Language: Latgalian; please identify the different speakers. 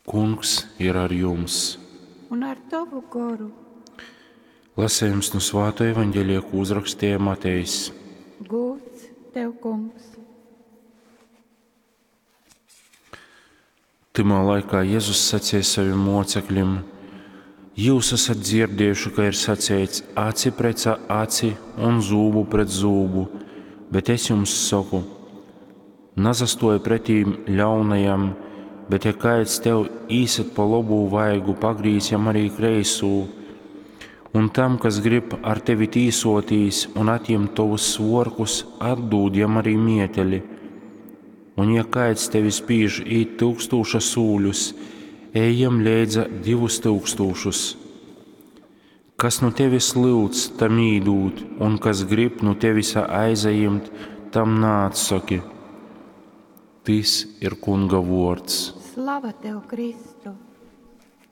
Speaker 1: Kungs ir ar jums!
Speaker 2: Un ar tovu goru.
Speaker 1: Lasējums nu Svāto evaņģēlija, ko uzrakstīja Matejs.
Speaker 2: Gūds tev, kungs!
Speaker 1: Tymā laikā Jezus sacīja saviem mocekļiem: Jūs esat dzirdējuši, ka ir saceits aci pret aci un zūbu pret zūbu, bet es jums saku, nasastoja pretīm ļaunajam, bet ja kāds tev īsit pa labū vaigu, pagrīz jam arī kreisū. Un tam, kas grib ar tevi tīsotīs un atņemt tovus svorkus, atdūd jam arī mieteli. Un ja kāds tevi spīž īt tūkstūša sūļus, ej jam leidza 2000. Kas nu tevis lyudz, tam īdūt, un kas grib nu tevis aizajimt, tam naatsaki. Tys ir Kunga vuords.
Speaker 2: Slava tev, Kristu!